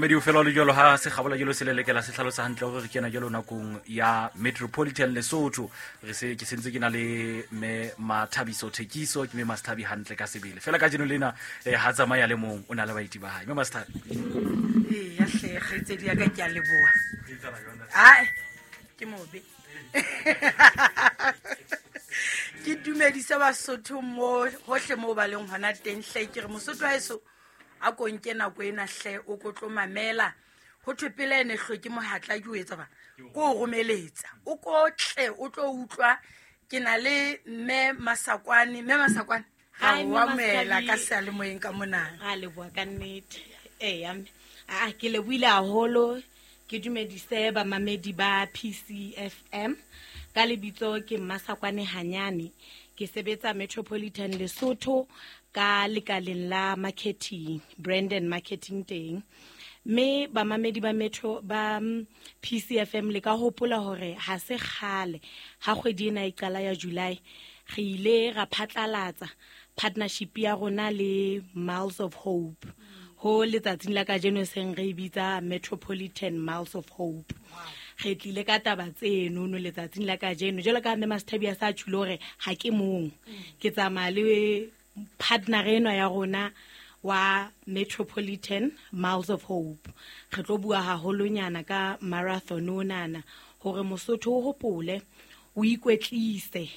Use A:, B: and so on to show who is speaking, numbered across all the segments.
A: Mamedi o fela o le jalo ha segabola jalo se lelekela se tlhalosa hantle gore re kena jalo nakong ya Metropolitan Lesotho. Re se ke sentse ke na le mme Mathabiso Thekiso, ke mme Masthabi hantle ka sebele. Fela ka jeno lena ha tsamaya le mong o na le baeti ba hae. Mme Masthabi.
B: Ee, ya hle kgaitsedi ya ka, ke a leboha. Ae, ke mobe. Ke dumedise Basotho mo hohle mo ba leng hona teng hle. Ke re Mosotho haeso a ko nke nako ena hle, o ko tlo mamela. Ho thwe pele ene hloke mohatla ke o etsa ba ko o romeletsa, o ko tle o tlo utlwa. Ke na le mme Masakwane. Mme Masakwane, ga
C: Hi,
B: o
C: mme
B: amohela
C: Mashabi.
B: ka seyalemoyeng ka monana.
C: Ra leboha ka nnete. Eya mme, aa ke lebohile haholo. Ke dumedise bamamedi ba PCFM. Ka lebitso ke Mmasakwane Hanyane, ke sebetsa Metropolitan Lesotho ka lekaleng la marketing, brand and marketing teng. Mme bamamedi ba Metro ba PCFM, le ka hopola hore ha se kgale ha kgwedi ena e qala ya July, re ile ra phatlalatsa partnership ya rona le Miles of Hope, ho letsatsing la kajeno seng re e bitsa Metropolitan Miles of Hope. Re tlile ka taba tseno no letsatsing la kajeno, jwalo ka mme Masthabi a sa tjhule hore ha ke mong, ke tsamaya le partner enwa ya rona wa Metropolitan Miles of Hope. Re tlo bua haholonyana ka marathon onana, hore Mosotho o hopole o ikwetlise,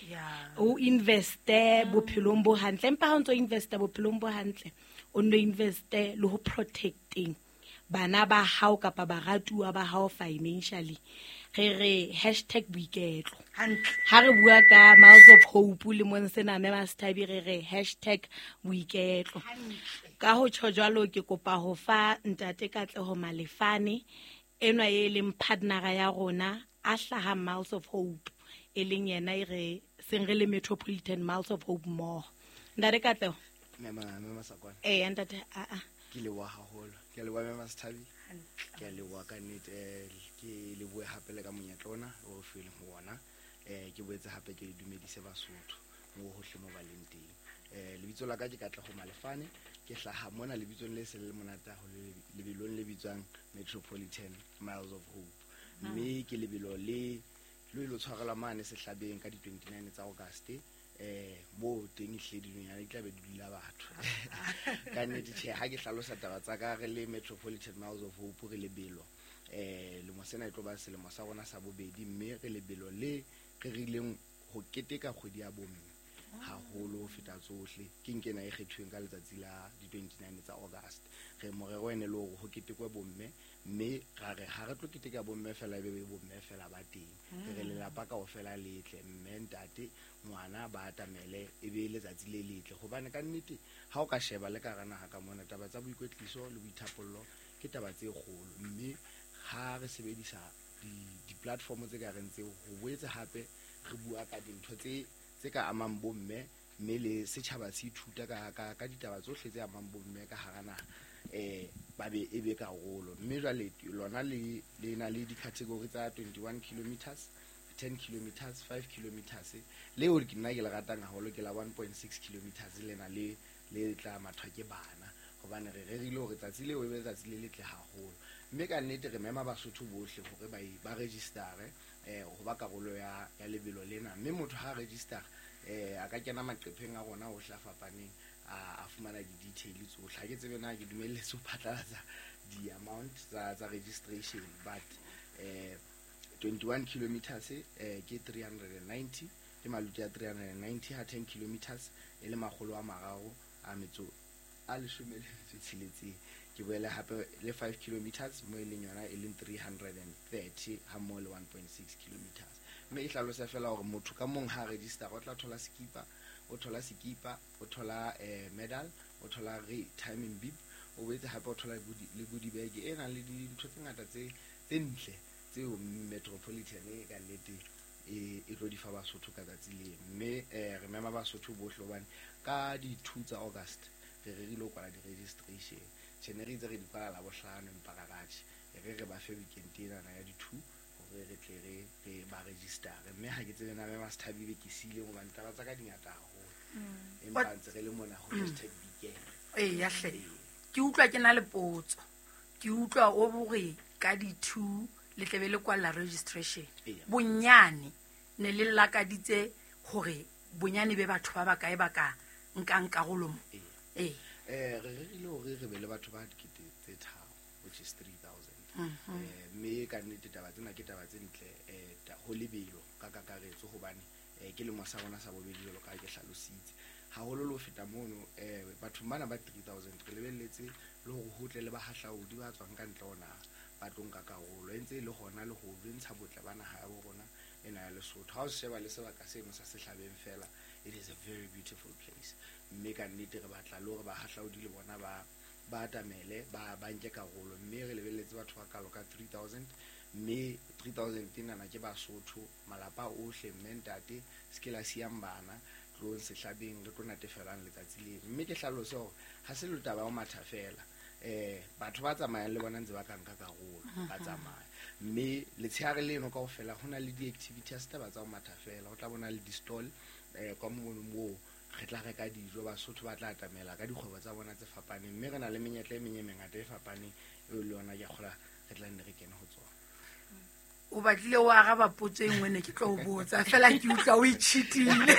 C: o investe bophelong bo hantle. Empa ha o ntso investa bophelong bo hantle, o nno investe le ho protecting bana ba hao kapa baratuwa ba hao financially. Re re hashtag boiketlo.
B: Hantle.
C: Ha re bua ka Miles of Hope le mong sena mme Masthabi, re re hashtag boiketlo. Ka ho tjho jwalo, ke kopa ho fa ntate Katleho Malefane enwa e leng partnera ya rona a hlahang Miles of Hope, e leng yena e re seng re le Metropolitan Miles of Hope mmoho. Ntate Katleho.
D: Mme Masakwane.
C: Ee, ntate, a a.
D: Ke leboha haholo. Ke a leboha mme Masthabi. Ke a leboha ka nnete, ke lebohe hape le ka monyetla ona o re fileng ho ona. Ke boetse hape ke dumedise Basotho mo hohle mo ba leng teng. Lebitso la ka ke Katleho Malefane, ke hlaha mona lebitsong le seng le monate haholo, lebelong le bitswang Metropolitan Miles of Hope. Mme ke lebelo le le lo tshwarelwa mane Sehlabeng ka di-29 tsa August, mo teng ehlile dinonyana di tla be di dula batho. Ka nnete tjhe, ha ke hlalosa taba tsa ka re le Metropolitan Miles of Hope, re lebelo lemo sena e tlo ba selemo sa rona sa bobedi, mme re lebelo le re rileng ho keteka kgwedi ya bomme haholo ho feta tsohle. Ke nkena e kgethuweng ka letsatsi la di-29 tsa August. Re morero ene le hore ho ketekwe bomme, mme ra re ha re tlo keteka bomme fela, e be bomme fela ba teng, re re lelapa kaofela le tle, mme, ntate, ngwana ba atamele, e be letsatsi le letle. Hobane ka nnete ha o ka sheba le ka hara naha ka mona, taba tsa boikwetliso le boithapollo ke taba tse kgolo, mme ha re sebedisa di-platform tse ka reng tseo ho boetse hape re bua ka dintho tse ka amang bomme, mme le setjhaba se ithuta ka ditaba tsohle tse amang bomme ka hara naha, ba be e be karolo. Mme jwale lona le na le di-category tsa 21 kilometers, 10 kilometers, 5 kilometers. Leo ke nna ke le ratang haholo ke la 1.6 kilometers, lena le le tla mathwa ke bana, hobane re rerile hore tsatsi leo e be letsatsi le letle haholo. Mme ka nnete re mema Basotho bohle hore ba register-e ho ba karolo ya lebelo lena. Mme motho ha register, a ka kena maqepheng a rona ohle a fapaneng, a fumana di-detail tsohle. Ha ke tsebe na ke dumelletse ho phatlalatsa di-amount tsa registration, but 21 kilometers ke 390, ke maluti a 390, ha 10 kilometers e le makgolo a mararo a metso a leshome le metso e tsheletseng. Ke boele hape le 5 kilometers mo e leng yona e leng 330, ha mmoho le 1.6 kilometers. Mme e hlalosa fela hore motho ka mong ha register o tla thola sekipa, o thola sekipa, o thola medal, o thola re timing bib, o boetse hape o thola le goodie bag e nang le dintho tse ngata tse ntle tseo Metropolitan e ka nnete e tlo di fa Basotho ka tsatsi le. Mme re mema Basotho bohle, hobane ka di-2 tsa August re rerile ho kwala di-registration. Tjhe, ne re itse re di kwala Labohlano, empa ra ratjhe re re ba fe weekend enana ya di-2 hore re tle re ba register-e. Mme ha ke tsebe na mme Masthabi be ke siile, hobane taba tsa ka di ngata haholo, empa ntse re le mona ho hashtag boiketlo.
B: Ee, ya hle, ke utlwa ke na le potso. Ke Ke utlwa o bore ka di-2 le tlebe le kwalla registration.
D: Eya.
B: Bonyane ne le lakaditse hore bonyane be batho ba bakae ba ka nkang karolo mo.
D: Eya.
B: Ee.
D: Re rerile hore re be le batho ba 3,000, which is 3,000. Mme ka nnete taba tsena ke taba tse ntle, ho lebelo ka kakaretso hobane ke lemo sa rona sa bobedi jwalo ka ha ke hlalositse. Haholo le ho feta mono, bathong bana ba 3,000 re lebelletse le hore ho tle le bahahlaodi ba tswang ka ntle ho naha ba tlo nka karolo. E ntse e le hona le ho bontsha botle ba naha ya bo rona ena ya Lesotho. Ha o sheba le sebaka seno sa Sehlabeng fela, it is a very beautiful place. Mme ka nnete re batla le hore bahahlaodi le bona ba atamele, ba nke karolo. Mme re lebelletse batho ba kalo ka 3,000, mme 3,000 enana ke Basotho, malapa ohle, mme ntate, se ke la siyang bana, tlohong Sehlabeng, re tlo natefelang letsatsi leno. Mme ke hlalose hore ha se le taba ya ho matha fela, batho ba tsamayang le bona ntse ba ka nka karolo, ba tsamaya. Mme letshehare leno kaofela ho na le di-activity, ha se taba tsa ho matha fela, ho tla bona le di-stall, kwa mono moo re tla reka dijo, Basotho ba tla atamela ka dikgwebo tsa bona tse fapaneng. Mme re na le menyetla e meng e mengata e fapaneng eo le yona ke a kgolwa re tla nne re kene ho tsona.
B: O batlile o araba potso e nngwe ne ke tlo o botsa, fela ke utlwa o e cheat-ile.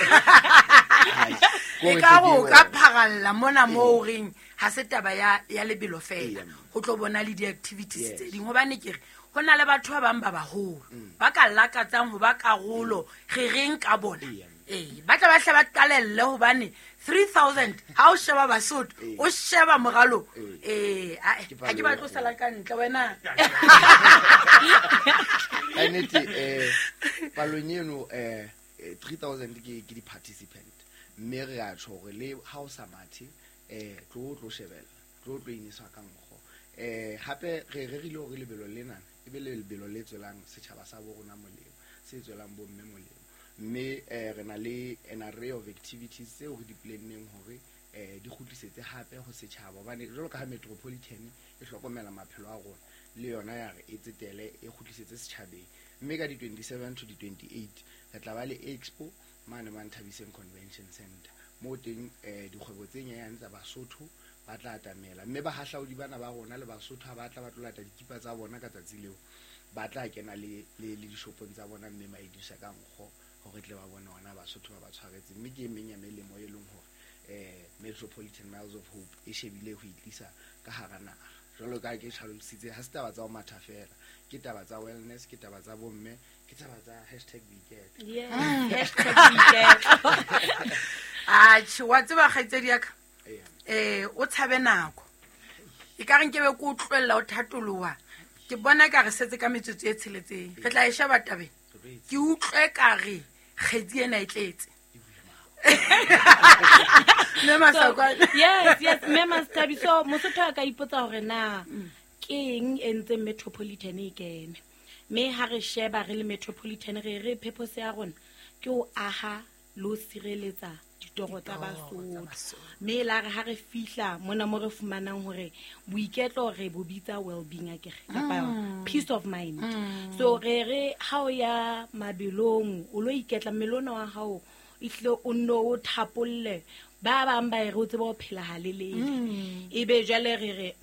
D: Ai,
B: E ka re o
D: kore
B: ka pharalla mona moo o reng ha se taba ya lebelo fela,
D: Eya.
B: ho tlo bona le di-activities
D: Yes.
B: tse ding. Hobane ke re ho na le batho ba bang ba baholo ba ka lakatsang ho ba karolo, re reng ka bona.
D: Eya.
B: Ee, ba tla ba hle ba qalelle hobane 3,000 ha o sheba Basotho,
D: Ee.
B: o sheba moralo.
D: Ee.
B: Ee, ae,
D: Ke
B: ha ke
D: palo e
B: batle ho sala
D: kgolo.
B: ka ntle wena.
D: Ka nnete, palong eno, 3,000 ke di-participant. Mme re a tjho hore le ha o sa mathe, tlo o tlo shebella, tlo o tlo ineswa ka nkgo. Hape re rerile hore lebelo lena e be lebelo le tswelang setjhaba sa bo rona molemo, se tswelang bo mme molemo. Mme, re na le an array of activities tseo re di planneng hore, di kgutlisetse hape ho setjhaba. Hobane jwalo ka ha Metropolitan e hlokomela maphelo a rona, le yona ya re e tsetele, e kgutlisetse setjhabeng. Mme ka di-27 to di-28 re tla ba le expo mane Manthabiseng Convention Center, moo teng, dikgwebo tse nyenyane tsa Basotho ba tla atamela. Mme bahahlaodi bana ba rona le Basotho ha ba tla ba tlo lata dikipa tsa bona ka tsatsi leo, ba tla kena le dishopong tsa bona mme ba idisa ka nkgo hore tle ba bone hona Basotho ba ba tshwaretse. Mme ke e meng ya melemo e leng hore, Metropolitan Miles of Hope e shebile ho itlisa ka hara naha. Jwalo ka ha ke hlalositse, ha se taba tsa ho matha fela, ke taba tsa wellness, ke taba tsa bomme, ke taba tsa hashtag boiketlo.
C: Yes, hashtag boiketlo.
B: Atjhe, wa tseba kgaitsedi ya ka?
D: Eya.
B: O tshabe nako. E ka re nkebe ke o tlohella o thatoloha. Ke bona e ka re setse ka metsotso e tsheletseng. Re tla e sheba tabeng. Ke utlwe ka re kgetsi ena e tletse. Mme Masakwane.
C: Yes, yes, mme Masethabi. So Mosotho a ka ipotsa hore na ke eng e ntseng Metropolitan e kene. Mme ha re sheba re le Metropolitan, re re purpose ya rona ke ho aha le ho sireletsa ditoro tsa
B: Ditoro tsa
C: Basotho.
B: Basotho.
C: Mme la re ha re fihla mona mo re fumanang hore boiketlo re bo bitsa well-being akere, kapa peace of mind. So re re ha o ya mabelong o lo iketla, mmele ona wa hao ehlile o nno o thapolle. Ba bang ba e re o tsebe ho phela halelele. Ebe jwale re re,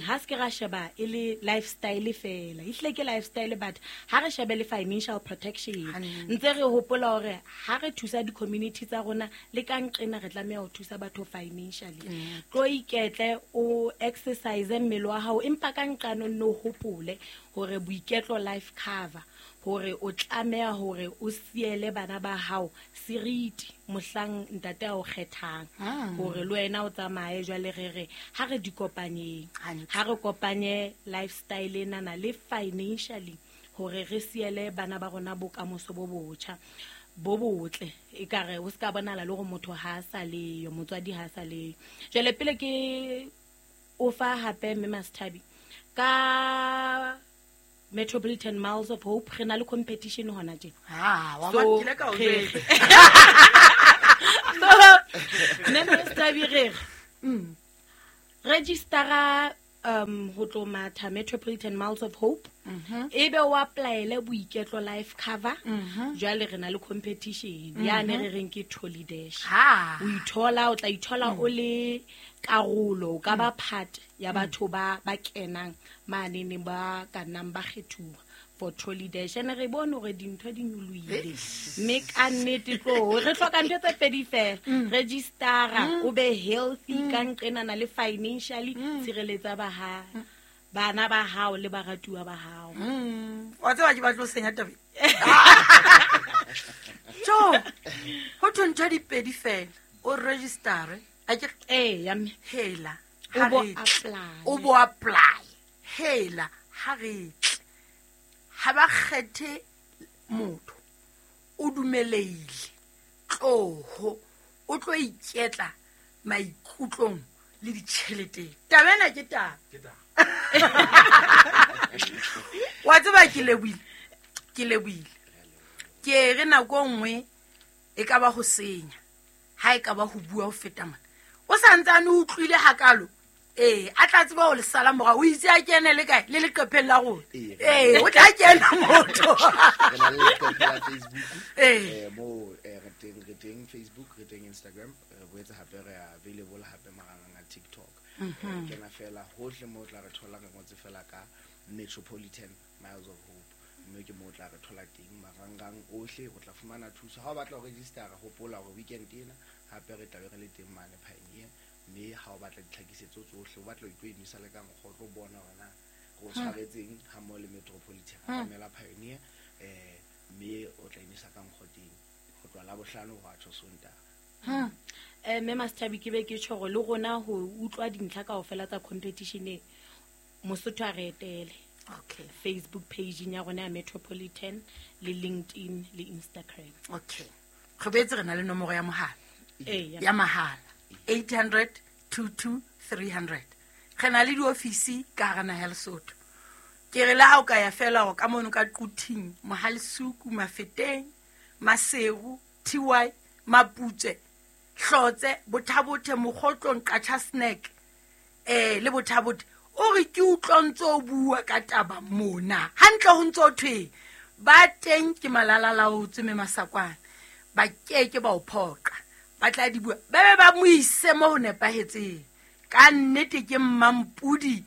C: ha se ke ra sheba e le lifestyle fela. Ehlile ke lifestyle, but ha re shebe le financial protection.
B: Hantle.
C: Ntse re hopola hore ha re thusa di-community tsa rona, le ka nqena re tlameha ho thusa batho financially. Tlo iketle, o exercise mmele wa hao, empa ka nqane o nno hopole hore boiketlo life cover, hore o tlameha hore o siele bana ba hao seriti mohlang ntate a o kgethang, hore le wena o tsamaye. Jwale re re ha re di kopanyeng,
B: Hantle.
C: ha re kopanye lifestyle enana le financially, hore re siele bana ba rona bokamoso bo botjha bo botle. Ekare o ska bonahala le hore motho ha a sa leyo, motswadi ha a sa leyo. Jwale pele ke o fa hape mme Masethabi ka Metropolitan Miles of Hope, re na le competition hona tje.
B: Ah, wa
C: So,
B: bona, ke ile ka o
C: re-
B: jwetsa.
C: So, mme Masethabi re re, registera, ho tlo matha Metropolitan Miles of Hope. Ebe o apply-ele boiketlo life cover. Jwale re na le competition. Yane re reng ke Trolley Dash.
B: Ha.
C: O ithola, o tla ithola o le karolo, o ka ba part ya batho ba kenang manene ba ka nnang ba kgethuwa for trolley dash. Ene re bone hore dintho di nyolohile, mme ka nnete tlo re hloka ntho tse pedi fela, registera o be healthy ka nqenana le financially, tshireletsa ba ha bana ba hao le baratuwa ba hao.
B: Wa tseba ke batlo senya taba. Jo, ho thwe ntho di pedi fela, o registere a ke
C: ya mme
B: hela
C: o bo apply,
B: o bo apply hela ha re tle ha ba kgethe motho, o dumeleile tloho o tlo iketla maikutlong le ditjheleteng. Taba ena ke taba. Wa tseba ke lebohile, ke lebohile. Ke re nako nngwe e ka ba ho senya, ha e ka ba ho bua ho feta mona. O santsane o utlwile hakalo, a tla tseba ho le sala morao, o itse a kene le kae le leqepheng la rona. O tla kena motho.
D: Re na le leqephe la Facebook, mo re teng Facebook, re teng Instagram, re boetse hape re available hape marangrang a TikTok. Kena fela hohle mo tla re thola, re ngotse fela ka Metropolitan Miles of Hope, mme ke mo tla re thola teng marangrang ohle, o tla fumana thuso. Ha o batla ho registera, hopola hore weekend ena hape re tla be re le teng mane Pioneer, mme ha o batla ditlhakisetso tsohle, o batla ho itlo inwesa le ka nkgo, o tlo bona hore na re o tshwaretseng ha mmoho le Metropolitan, atamela Pioneer, mme o tla inwesa ka nkgo teng ho tloha Labohlano ho ya tjho Sontaha.
C: Mme Masethabi, ke be ke tjho hore le rona ho utlwa dintlha kaofela tsa competition e, Mosotho a re etele.
B: Okay.
C: Facebook page ya rona ya Metropolitan le LinkedIn le Instagram.
B: Okay. Re boetse re na le nomoro ya mohala.
C: Eya.
B: Ya mahala 800 22 300. Re na le diofisi ka hara naha ya Lesotho. Ke re le ha o ka ya fela hore ka mono ka Quthing, Mohalesuku, Mafeteng, Maseru, TY, Maputswe, Hlotse, Bothabothe, Mokgotlong, Qacha Snack, le Bothabothe. O re ke utlwa ntse o bua ka taba mona. Hantle ho ntso thwe ba teng ke malalalaotswe mme Masakwane, ba keke ba o phoqa, ba tla di bua, ba be ba mo ise mo ho nepahetseng. Ka nnete ke Mmampudi,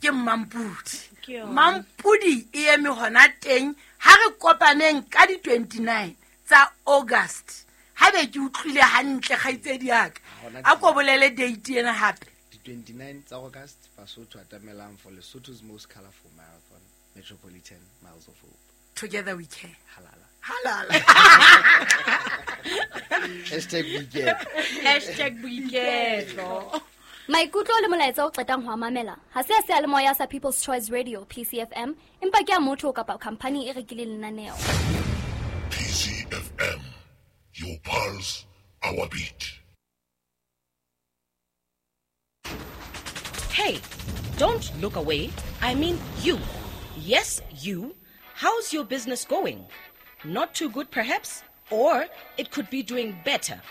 B: ke Mmampudi.
C: Ke yona.
B: Mmampudi e eme hona teng. Ha re kopaneng ka di 29 tsa August. Ha be ke utlwile hantle kgaitsedi ya ka. A ko bolele date ena hape.
D: Di 29 tsa August, Basotho atamelang for Lesotho's most colorful marathon, Metropolitan Miles of Hope.
B: Together we can.
D: Halala.
B: Halala.
D: Hashtag weekend.
C: Hashtag boiketlo.
E: Maikutlo le molaetsa o qetang ho a mamela ha se a seyalemoya sa People's Choice Radio PCFM, empa ke a motho kapa company e rekileng lenaneo.
F: PCFM, your pulse, our beat.
G: Hey, don't look away. I mean you. Yes, you. How's your business going? Not too good, perhaps? Or it could be doing better.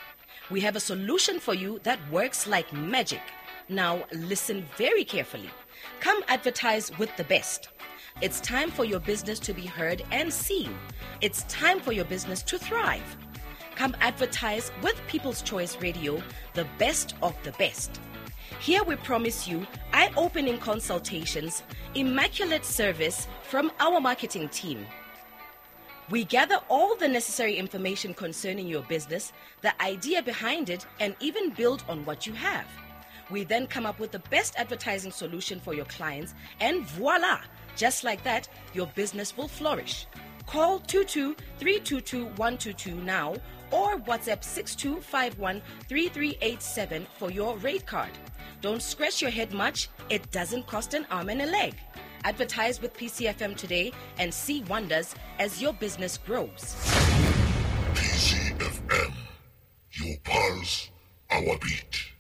G: We have a solution for you that works like magic. Now, listen very carefully. Come advertise with the best. It's time for your business to be heard and seen. It's time for your business to thrive. Come advertise with People's Choice Radio, the best of the best. Here we promise you eye-opening consultations, immaculate service from our marketing team. We gather all the necessary information concerning your business, the idea behind it, and even build on what you have. We then come up with the best advertising solution for your clients, and voila! Just like that, your business will flourish. Call 22-322-122 now or WhatsApp 6251-3387 for your rate card. Don't scratch your head much. It doesn't cost an arm and a leg. Advertise with PCFM today and see wonders as your business grows.
F: PCFM, your pulse, our beat.